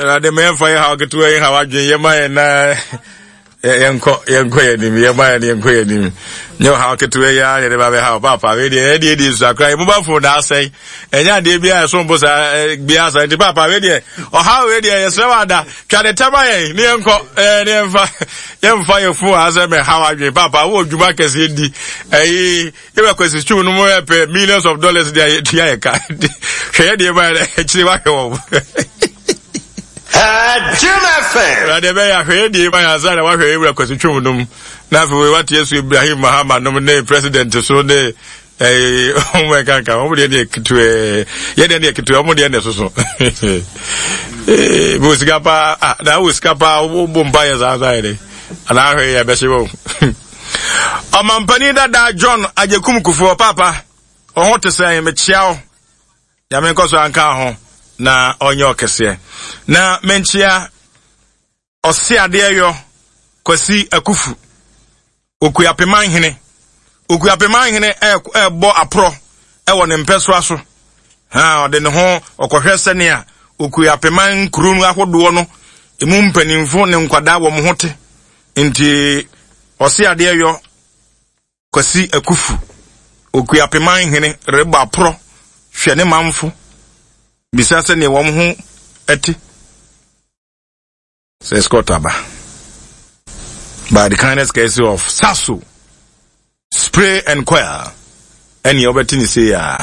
Awurade ma yɛmfa yɛ haw ketewa yi haw adwene yɛma yɛn na yɛnkɔ yɛnkɔ yɛn anim yɛma yɛn yɛnkɔ yɛn anim nyɛ ɔhaw ketewa yi ara yɛde ba bɛhaw paapa wei deɛ ɛdeɛ deɛ sua koraa yɛ mobile phone na asɛe ɛnyɛ adeɛ bi a ɛsom bo saa biara saa nti paapa wei deɛ ɔhaw wei deɛ yɛsrɛ wɔ ada twa ne tɛma yɛn ne yɛnkɔ ɛɛ ne yɛmfa yɛmfa yɛ phone asɛ mɛhaw adwene paapa wowɔ dwuma kɛseɛ di ɛyi Yɛbɛ kwasi stew no mu yɛ pɛ millions of dollars de ayɛ tua yɛ ka. Hwɛ yɛ deɛ ba yɛ akyire wahwɛ wɔn. Jim FM. Awurade ɛbɛyɛ ahwɛ yɛ deɛ ba yɛ ansa na wahwɛ yɛ wura kwasi twom nom. Na afei wei wate asu Ibrahim Mahama nom ne president so ne ɛɛ wɔn ɛka nka wɔn deɛ ne yɛ ketewa yɛ deɛ ne yɛ ketewa wɔn deɛ ne soso. Ee bɛ sika paa ah na wɔ sika paa wɔn bɔ mpa yɛ saa saa yɛ dɛ anaa ahwɛ yɛ bɛhyɛ wɔn. Ɔmampanin dada John Agyekum Kufuor, Paapa, wo ho te sɛn? Mekyea wo. Nyame nkɔ so anka ho na ɔnyɛ ɔkɛseɛ. Na menkyea ɔse adeɛ yɔ Kwasi Akufu, Okuapeman hene. Okuapeman hene ɛrebɔ aporɔ ɛwɔ ne mpɛsoa so. Ha, ɔde ne ho ɔkɔhwɛ sɛnea Okuapeman nkuro no ahodoɔ no emu mpanimfo ne nkwadaa wɔn ho te. Nti ɔse adeɛ yɔ Kwasi Akufu, Okuapeman hene rebɔ aporɔ hwɛ ne manfo bisa sɛdeɛ wɔn ho te. Sɛ Scott aba. By the kindness courtesy of Sasso Spray and Coil ɛneɛ wobɛte ne sei a.